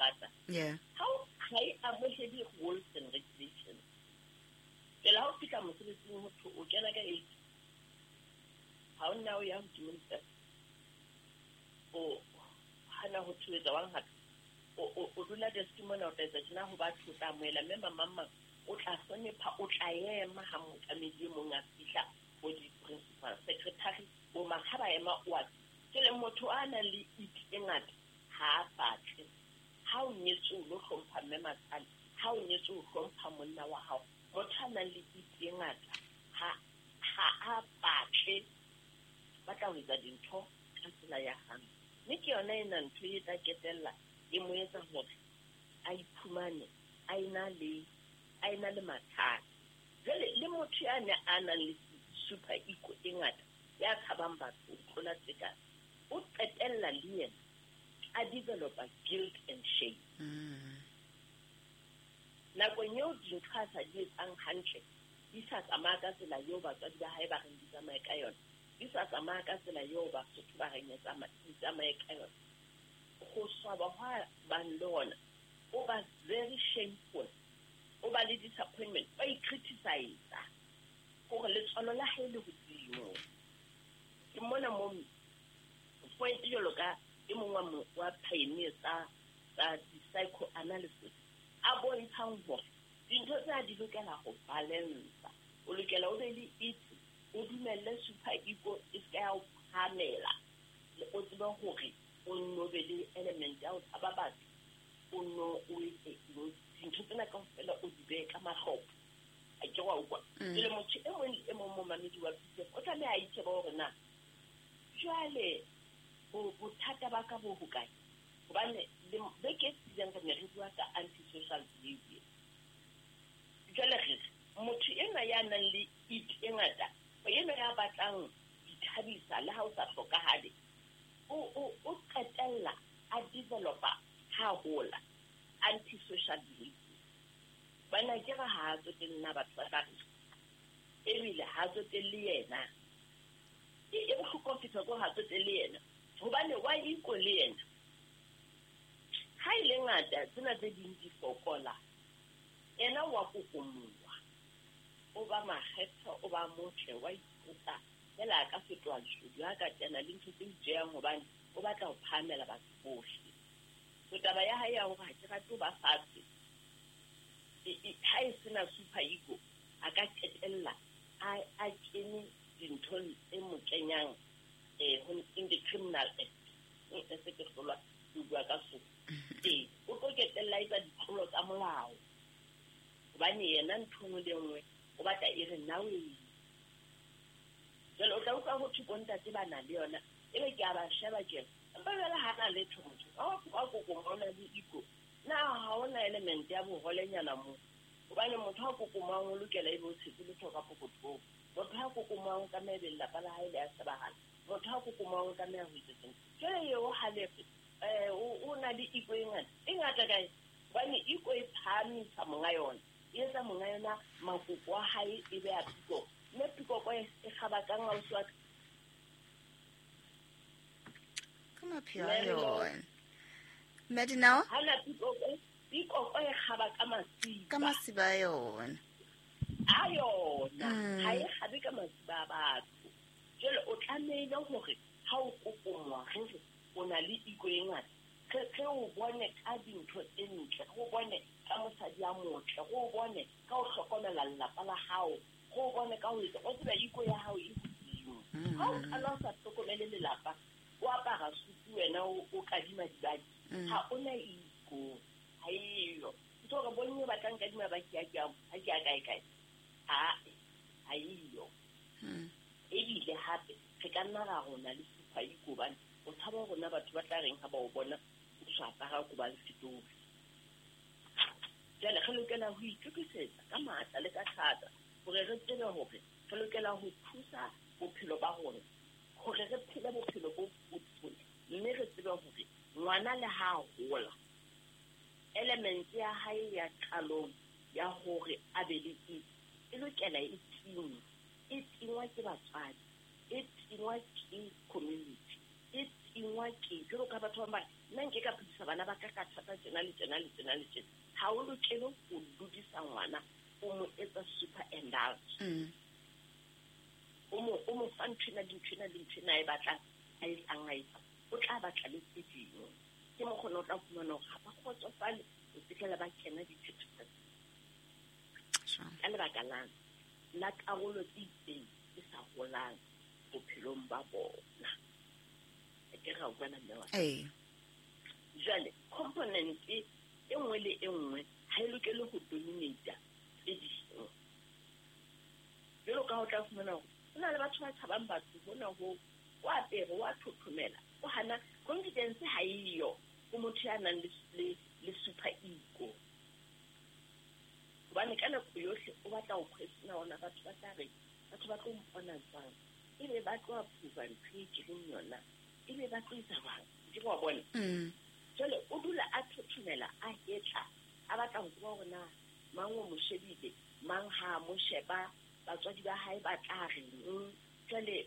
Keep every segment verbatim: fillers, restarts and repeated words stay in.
rata. Yeah. Ha ha e amohele rules and regulations. Pela ha o fihla mosebetsing ho thwe o kena ka eight. Ha o nna o ya hodimo le o hana ho thuetsa wang hape. O o o dula desk mona o tla etsa tjena ho batho o tla amohela mme mamang mang o tla hlonepha o tla ema ha mookamedi e mong a fihla bo di-principal secretary bo mang ha ba ema o a jwale motho a nang le it e ngata ha a batle. Ha o nyetswe o lo hlompha mme matsale, ha o nyetswe o hlompha monna wa hao. Motho a nang le it e ngata ha ha a batle ba tla ho etsa dintho ka tsela ya hae. Mme ke yona ena ntho e tla ketella e mo etsa hore a iphumane a ena le a ena le mathata. Jwale le motho ya ne a nang le super ego e ngata ya tshabang batho ho tlola tekano, o qetella le yena a developa guilt and shame. Mm. Nakong eo dintho a sa di etsang hantle di sa tsamaya ka tsela eo batswadi ba hae ba reng di tsamaye ka yona, di sa tsamaya ka tsela eo Basotho ba reng e tsama-, di tsamaye ka yona, ho swaba hwa bang le hona o ba very shameful, o ba le disappointment, ba i-criticize hore letswalo la hae le hodimo. Ke mona mo point jwalo ka e mong wa mo-, wa pioneer tsa, tsa di-psychoanalysis a bontshang hore dintho tsena di lokela ho balance. O lokela o be le it, o dumelle super ego e se ka ya o phahamela, o tsebe hore o nno be le element ya ho tshaba batho, o nno o etse eng, dintho tsena kaofela o di behe ka mahlopho. A ke wa utlwa? Mm. Jwale motho e mong le e mong momamedi wa P T F o tlameha a itshebe hore na jwale bo-, bothata ba ka bo hokae. Hobane le beke e fetileng re ne re bua ka antisocial behavior. Jwale re re motho enwa ya nang le it e ngata, enwa ya batlang ho ithabisa le ha o sa hlokahale, o, o, o qetella a developa ha hola antisocial behavior. Bana ke re ha a tsotelle na batho ba tla re, ebile ha a tsotelle yena. E, e bohloko ho fihla ko ha a tsotelle yena, hobane wa iko le yena. Ha e le ngata tsena tse ding di fokola, yena wa kokomoha, o ba makgetho, o ba motle, wa ipotsa fela a ka fetoha leshodu, ha ka kena le ntho tse ijehang hobane o batla ho phahamela batho bohle. So taba ya hae ya hore ha ke rate ho ba fatshe, e, e, ha e sena super ego, a ka qetella a, a kene dinthong tse mo kenyang, eh, ho, in the criminal act. E, e se ke hlolwa ke bua ka so. Ee, o tlo qetella a etsa ditlolo tsa molao. Hobane yena ntho e nngwe le e nngwe o batla e re nna o e. Jwale o tla utlwa ho thwe bo ntate ba na le yona, ebe ke a ba sheba ke re, empa jwale ha na letho motho, ha o tloha kokomang o na le ego, na ha hona element ya boholenyana moo? Hobane motho ha kokomang o lokela ebe o tshetse letho ka pokothong. Motho ha kokomang o tlameha ebe lelapa la hae le a shebahala. Motho ha kokomang o tlameha ho etsa sena. Jwale eo ha lefe, eh, o, o na le ego e ngata. E ngata kae? Hobane ego e phahamisa monga yona. E etsa monga yona makoko a hae e be a pikoko. Mme pikoko e, e kgaba kang ausi wa ka? Ka mapheo a Mary Lord. yona. Mme Dinao? Ha na pikoko, pikoko e kgaba ka masiba. Ka masiba a yona. A yona. Mm. Ha e kgabe ka masiba a batho. Jwale o tlamehile hore ha o kokomoha, re re o na le ego e ngata, re, re o bone ka dintho tse ntle, re o bone ka mosadi a motle, re o bone ka ho hlokomela lelapa la hao, re o bone ka ho etsa, o tseba ego ya hao e hodimo. Mm. Ha o qala o sa hlokomele lelapa, o apara sutu wena o, o kadima dibaki, Mm. ha o na ego, ha eyo. Ntho hore bomme ba tla nkadima baki ha ke a, ha ke a kae kae. Ha, ha eyo. Mm. Ebile hape re ka nna ra rona le super ego hobane o tshaba hore na batho ba tla reng ha ba o bona o sa apara ko ba le setori. Jwale re lokela ho itokisetsa ka matla le ka thata hore re tsebe hore re lokela ho thusa bophelo ba rona hore re phele bophelo bo botle, mme re tsebe hore ngwana le ha a hola element ya hae ya qalong ya hore a be le ego e lokela e tingwe, e tingwa ke batswadi, e tingwa ke community, e tingwa ke jwalo ka batho ba bang nna nke ka phedisa bana ba ka ka thata tjena le tjena le tjena le tjena. Ha o lokele ho dudisa ngwana o mo etsa super indulge. Mm. O mo o mo fa nthwena le nthwena le nthwena e batlang a e tsang a etsa. O tla batla le tse ding. Ke mo kgona o tla fumana hore ha ba kgotsofale o fitlhela ba kena dithethefatsi. Ka lebaka lang la karolo tse itseng e sa holang bophelong ba bona. Ke ra utlwana mme wa. Ee. Jwale component e nngwe le e nngwe ha e lokele ho dominate tse ding. Jwalo ka ho tla fumana hore ho na le batho ba tshabang batho hona ho o apere wa thothomela o hana confidence ha eyo ho motho ya nang le le, le super ego. Hobane ka nako yohle o batla ho question ona batho ba tla reng, batho ba tlo mpona jwang, ebe ba tlo approve ntho e ke leng yona, ebe ba tlo etsa jwang, ke wa bona. Mm. Jwale o dula a thothomela a hetla a batla ho tseba hore na mang o mo shebile, mang ha a mo sheba, batswadi ba hae ba tla reng. Jwale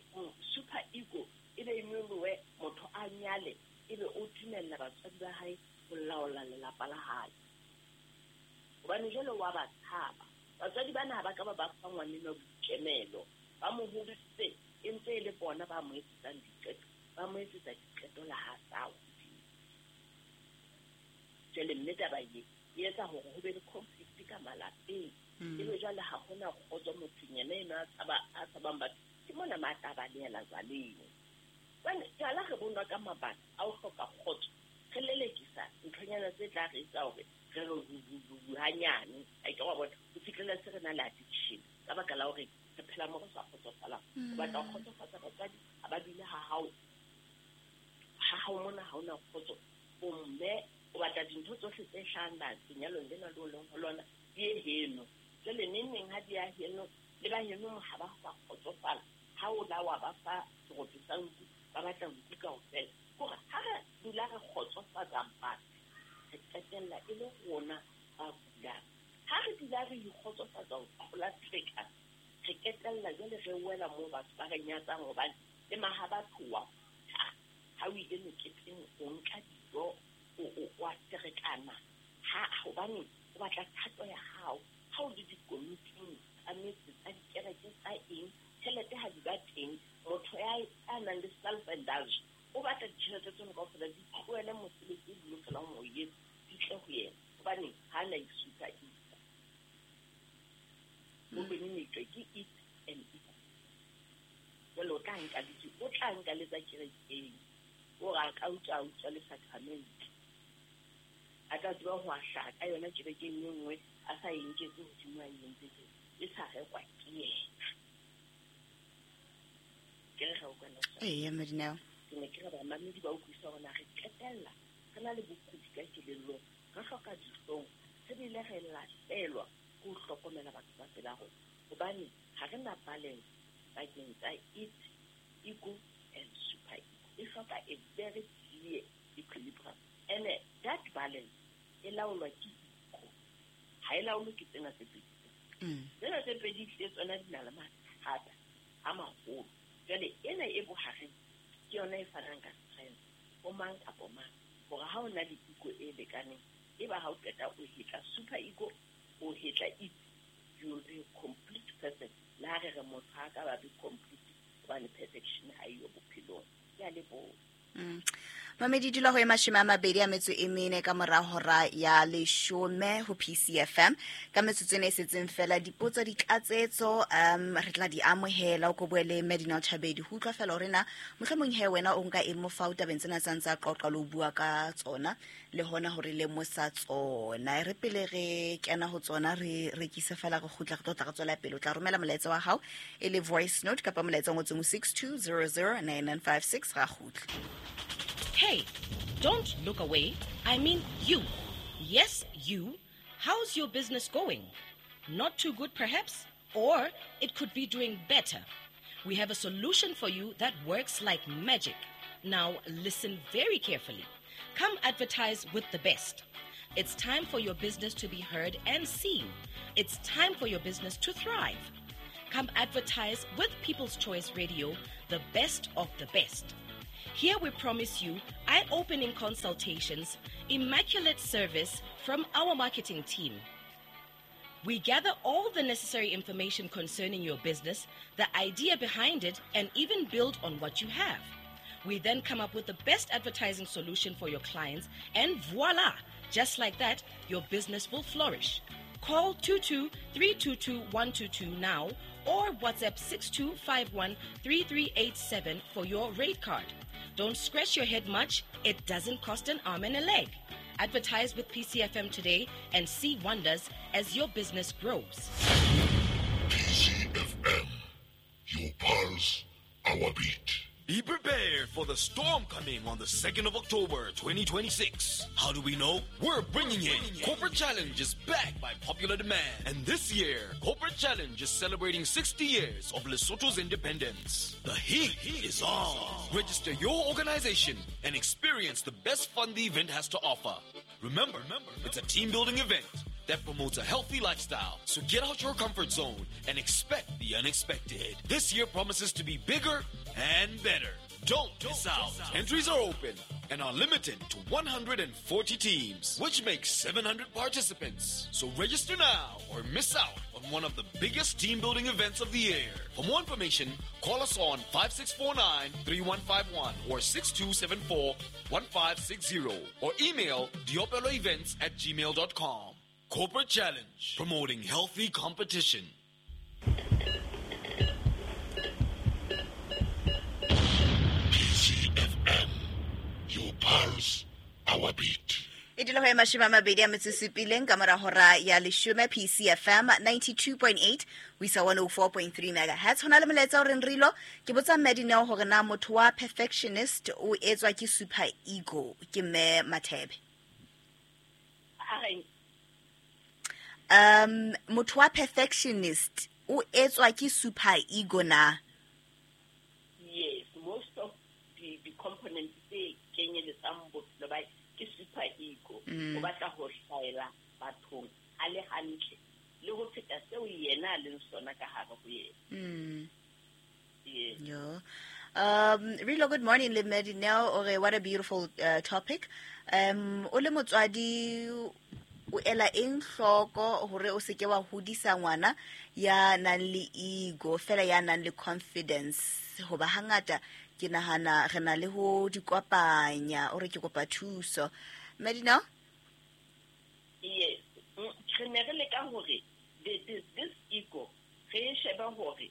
super ego e be e nyolohe, motho a nyale ebe o dumella batswadi ba hae ho laola lelapa la hae. Hobane jwale wa ba tshaba. Batswadi bana ha ba ka ba ba fa ngwanenwa boikemelo, ba mo hodisitse e ntse e le bona ba mo etsetsang diqeto, ba mo etsetsa diqeto la ha sa hodile. Jwale mme taba e e etsa hore ho be le conflict ka malapeng. Ebe jwale ha hona kgotso mothong yena eno a tshaba, a tshabang batho. Ke mona matla a balehela jwaleng. Jwale jwala re bonwa ka mabaka a ho hloka kgotso, re lelekisa nthonyana tse tla re etsa hore re re hu hanyane. A ke wa bona ho fihlela se re na le addiction ka baka la hore re phela mo re sa kgotsofalang. O batla ho kgotsofatsa batswadi ha ba dule ha hao, ha hao mona ha hona kgotso. O mme o batla dintho tsohle tse hlahang lenyalong lena le o leng ho lona di ye heno. Jwale neng neng ha di ya heno le ba heno ha ba sa kgotsofala, ha o la wa ba fa seroto sa nku, ba batla nku kaofela. Hore ha re dula re kgotsofatsa batho, re qetella e le rona ba kulang. Ha re dula re ikgotsofatsa ho tlola selekane, re qetella jwale re wela moo batho ba re nyatsang hobane le maha batho wa ha ha o ile meketeng o nka dijo o o wa ferekana ha hobane o batla thato ya hao. Ha o le dikomiting tsa metse tsa dikereke tsa eng, tjhelete ha di ba teng, motho ya a nang le self indulge o batla ditjhelete tseno kaofela di tlohele mosebetsi o di lokelang ho o etsa, di tle ho yena hobane ha na e-super ego. O dominatwe ke it and ego. Jwale o tla nka le o tla nka le tsa kerekeng, o re a ka utswa a utswa le sacrament, a tla tseba ho ahla ka yona kerekeng e nngwe a sa e nketse hodimo a e entse tje, e sa rekwa ke yena. Ke re ga o kwana sa. Ee, Madineo. Ke ne ke re bamamedi ba utlwisisa hore na re qetella re na le bokudi ka kelellong, re hloka dihlong, re bile re lahlelwa ke ho hlokomela batho ba pela rona hobane ha re na balance pakeng tsa it, ego and super ego. E hloka a very clear equilibrium, and that balance e laolwa ke ego, ha e laolwe ke tsena tse pedi. Mm. Tsena tse pedi le tsona di na le mathata a maholo. Jwale ena e bohareng ke yona e fanang ka strength ho mang kapa mang hore ha o na le ego e lekaneng, e ba ha o qeta o hetla super ego, o hetla it, you will be a complete person. Le ha re re motho ha ka ba be complete hobane perfection ha eyo bophelong. Ke a leboha. Mm. Mamedi dula ho e mashome a mabedi a metso e mene ka mora hora ya leshome ho P C F M. Ka metsotso ena e setseng fela dipotso ditlatsetso um re tla di amohela o ko bue le Madineo Chabedi ho utlwa fela hore na mohlomong he wena o nka eng mo fa o tabeng tsena tsa ntsa qoqa le ho bua ka tsona le hona hore le mosa tsona. Re pele re kena ho tsona re rekise fela re kgutla re tlo tla re tswela pele. O tla romela molaetsa wa hao e le voice note kapa molaetsa o ngotsweng ho six two zero zero nine nine five six ra kgutla. Hey, don't look away. I mean you. Yes, you. How's your business going? Not too good, perhaps? Or it could be doing better. We have a solution for you that works like magic. Now, listen very carefully. Come advertise with the best. It's time for your business to be heard and seen. It's time for your business to thrive. Come advertise with People's Choice Radio, the best of the best. Here we promise you eye-opening consultations, immaculate service from our marketing team. We gather all the necessary information concerning your business, the idea behind it, and even build on what you have. We then come up with the best advertising solution for your clients, and voila! Just like that, your business will flourish. Call two two three two two one two two now or WhatsApp six two five one three three eight seven for your rate card. Don't scratch your head much. It doesn't cost an arm and a leg. Advertise with P C F M today and see wonders as your business grows. P C F M, your pulse, our beat. Be prepared for the storm coming on the second of October, twenty twenty-six. How do we know? We're bringing it. Corporate Challenge is back by popular demand. And this year, Corporate Challenge is celebrating sixty years of Lesotho's independence. The heat is on. Register your organization and experience the best fun the event has to offer. Remember, it's a team-building event that promotes a healthy lifestyle. So get out your comfort zone and expect the unexpected. This year promises to be bigger and better. Don't miss out. Entries are open and are limited to one hundred forty teams, which makes seven hundred participants. So register now or miss out on one of the biggest team-building events of the year. For more information, call us on five six four nine, three one five one or six two seven four, one five six zero or email diopeloevents at gmail dot com. Corporate Challenge, promoting healthy competition. P C F M, your pulse, our beat. E dula ho e mashome a mabedi a metso supileng ka mora hora ya leshome, P C F M ninety-two point eight ho isa one oh four point three megahertz. Hona le molaetsa o reng Rilo, ke botsa Mme Dineo hore na motho wa perfectionist o etswa ke super ego. Ke Mme Mathebe. Um, motho wa perfectionist o etswa ke super ego na? Yes, most of the, the components tse kenyeletsang bophelo ba ke super ego. Mm. O batla ho hlaela bathong a le hantle le ho feta seo yena a leng sona ka hare ho yena. Mm. Yes. Yeah. Um, Rilo, good morning, le Mme Dineo. Ore, what a beautiful uh, topic. Um, o le motswadi o ela eng hloko hore o seke wa hodisa ngwana ya nang le ego fela ya nang le confidence, hoba hangata ke nahana re na le ho di kopanya. O re ke kopa thuso, Mme Dineo? Yes, re ne re leka hore this, this ego re e shebe hore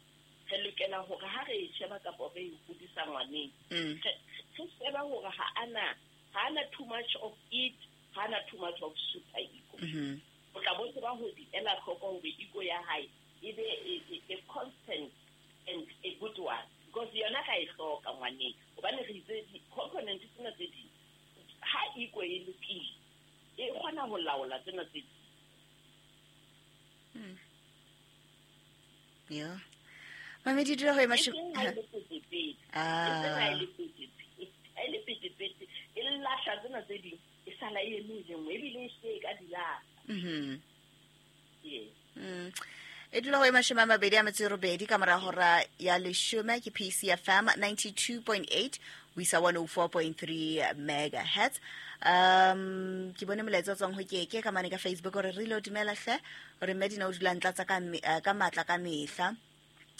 re lokela hore ha re e sheba kapa re e hodisa ngwaneng, Mm. re sheba hore ha ana ha ana too much of it, ha ana too much of super ego. Mm-hmm. O tla bo tseba ho di ela hloko hore ego ya hae e be a, a constant and a good one, because yona ka e hloka ngwaneng, hobane re itse di-component tsena tse ding, ha ego e lokile e kgona ho laola tsena tse ding. Mm. Yeah. Mamedi dula ho e E mashome- seng ha e le petepete. Ah. E seng ha e le petepete. Ha e le petepete, e lahla tsena tse ding, e sala e eme e le nngwe, ebile e se ka di lahla. Mm-hmm. Yes. Mm. E dula ho e mashome a mabedi a metso e robedi ka mora hora ya leshome, ke P C F M ninety-two point eight ho isa one oh four point three megahertz. Um, ke bone molaetsa o tswang ho Keke ka mane ka Facebook hore re lo dumela hle, hore Mme Dineo o dula ntlatsa ka me-, eh, ka matla ka mehla.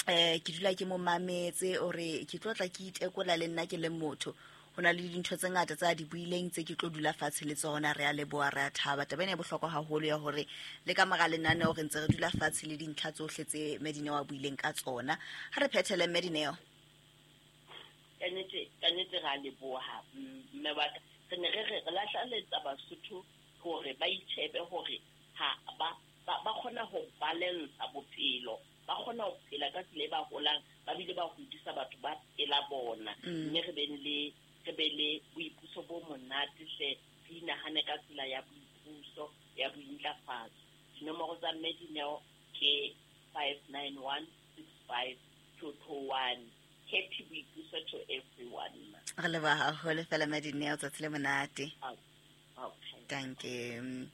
Eh, ke dula ke mo mametse, hore ke tlo tla ke itekola le nna ke le motho. Ho na le dintho tse ngata tsa di buileng tse ke tlo dula fatshe le tsona. Re a leboha, re a thaba. Taba ena e bohlokwa haholo ya hore le ka mora lenaneo re ntse re dula fatshe le dintlha tsohle tse Mme Dineo a buileng ka tsona. Ha re phethele, Mme Dineo. Ka nnete, ka nnete re a leboha, mme wa ka. Re ne re re, re lahlaletsa Basotho hore ba itjhebe hore ha ba, ba, ba kgona ho balansa bophelo, ba kgona ho phela ka tsela e ba holang, ba bile ba hodisa batho ba pela bona. Mm. Mme re beng le, re be le boipuso bo monate hle, re inahane ka tsela ya boipuso, ya bointlafatso. Dinomoro tsa Mme Dineo ke five nine one six five two two one. Happy boipuso to everyone. Re leboha haholo fela Mme Dineo, tsatsi le monate. Oh, okay. Thank you.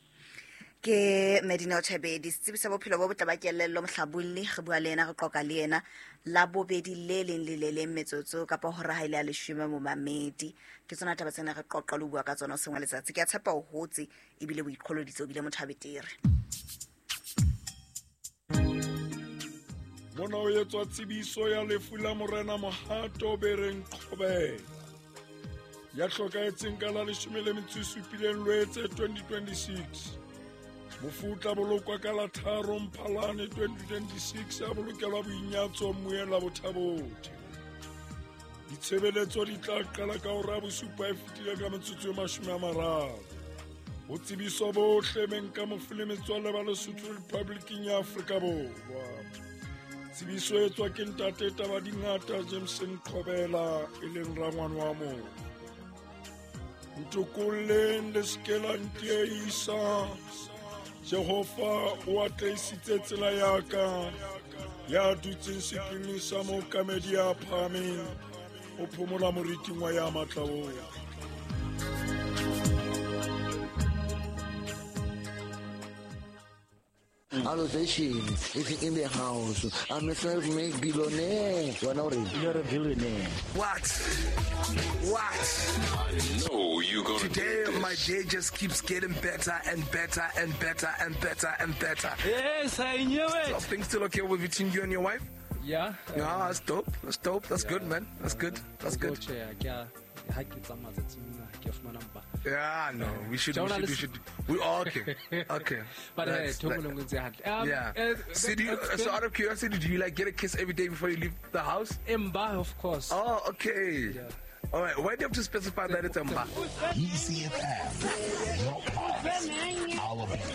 Ke Medina Chabedi setsebi sa bophelo bo botle ba kelello mohlabolli re bua le yena re qoqa le yena la bobedi le leng le le leng metsotso kapa hora ha ile ya leshome momamedi ke tsona taba tsena re qoqa le bua ka tsona sengwe letsatsi ke a tshepa o hotse ebile o iqholoditse o bile motho a betere. Mona o etswa tsebiso ya lefu la morena Mohato Bereng Qhobela ya hlokahetseng ka la leshome le metso e supileng Lwetse twenty twenty-six. Mofu o tla bolokwa ka la tharo Mphalane twenty twenty-six a bolokelwa boinyatso mmoyeng la Bothabothe. Ditshebeletso di tla qala ka hora ya bosupa e fetile ka metsotso e mashome a mararo. Ho tsebiswa bohle beng ka mofu le metswalle ba Lesotho Republiking ya Afrika Borwa. Tsebiso e tswa ke ntate Tabadingata Jameson Qhobela e leng rangwane wa moo. Ntokolleng le se ke la ntiehisa. Jehova o atlehisitse tsela ya ka, ya dutseng sephiring sa mookamedi ya phahameng, o phomola moriting wa ya matla ohle. Allocation is in the house. I'm a self-made billionaire. You're a billionaire. What? What? I know you're gonna Today, do this. My day just keeps getting better and better and better and better and better. Yes, I knew it. So things still okay with between you and your wife? Yeah. Yeah, um, that's dope. That's dope. That's yeah, good, man. That's good. That's good. Yeah, no, we should, we should, we should, we all okay, okay. But uh, um, yeah. Uh, so, do you, so out of curiosity, do you like get a kiss every day before you leave the house? Mba, of course. Oh, okay. Yeah. All right. Why do you have to specify that it's Mba? E C F M, your pulse, our beat.